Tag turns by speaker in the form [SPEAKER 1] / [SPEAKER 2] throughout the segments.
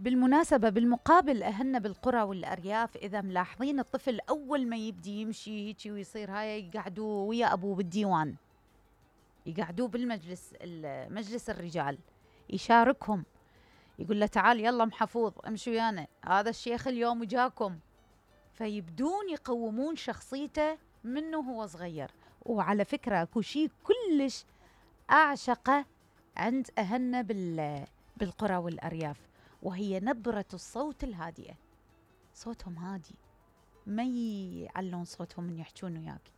[SPEAKER 1] بالمناسبة بالمقابل أهلنا بالقرى والأرياف إذا ملاحظين الطفل أول ما يبدي يمشي هيجي ويصير هاي يقعدوه ويا أبوه بالديوان، يقعدوه بالمجلس مجلس الرجال، يشاركهم، يقول له تعال يلا محفوظ امشي ويانا، هذا الشيخ اليوم وجاكم. فيبدون يقومون شخصيته منه هو صغير. وعلى فكرة اكو شيء كلش أعشقه عند أهلنا بالقرى والأرياف، وهي نبرة الصوت الهادئة. صوتهم هادي، ما يعلون صوتهم من يحجون وياك،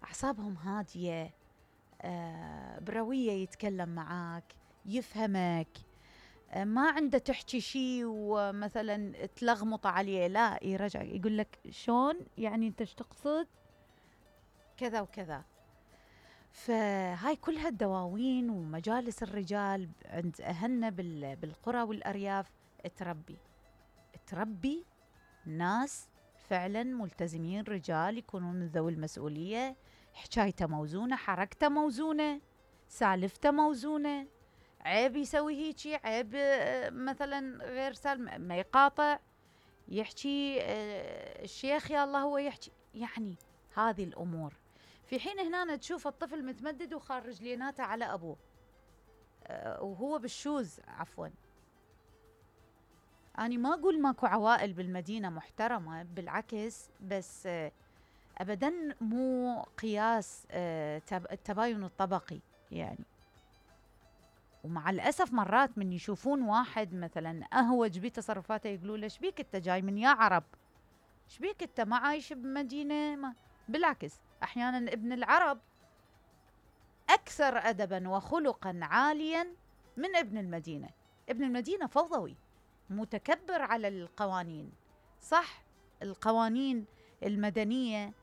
[SPEAKER 1] أعصابهم هادية، بروية يتكلم معاك، يفهمك، ما عنده تحكي شيء ومثلا تلغمط عليه، لا يرجع يقول لك شلون يعني انت ايش تقصد كذا وكذا. فهاي كلها الدواوين ومجالس الرجال عند أهلنا بالقرى والأرياف تربي ناس فعلا ملتزمين، رجال يكونون من ذوي المسؤولية، حكايته موزونة، حركته موزونة، سالفته موزونة، عيب يسوي هيجي، عيب مثلا غير سالم ما يقاطع، يحكي الشيخ يا الله هو يحكي، يعني هذه الأمور. في حين هنا تشوف الطفل متمدد وخارج ليناته على أبوه وهو بالشوز، عفوا. أنا ما أقول ماكو عوائل بالمدينة محترمة، بالعكس، بس أبداً مو قياس التباين الطبقي يعني. ومع الأسف مرات من يشوفون واحد مثلاً أهوج بتصرفاته يقولوا له ايش بيك انت جاي من يا عرب، ايش بيك انت ما عايش بمدينة ما. بالعكس أحياناً ابن العرب أكثر أدباً وخلقاً عالياً من ابن المدينة. ابن المدينة فوضوي متكبر على القوانين، صح القوانين المدنية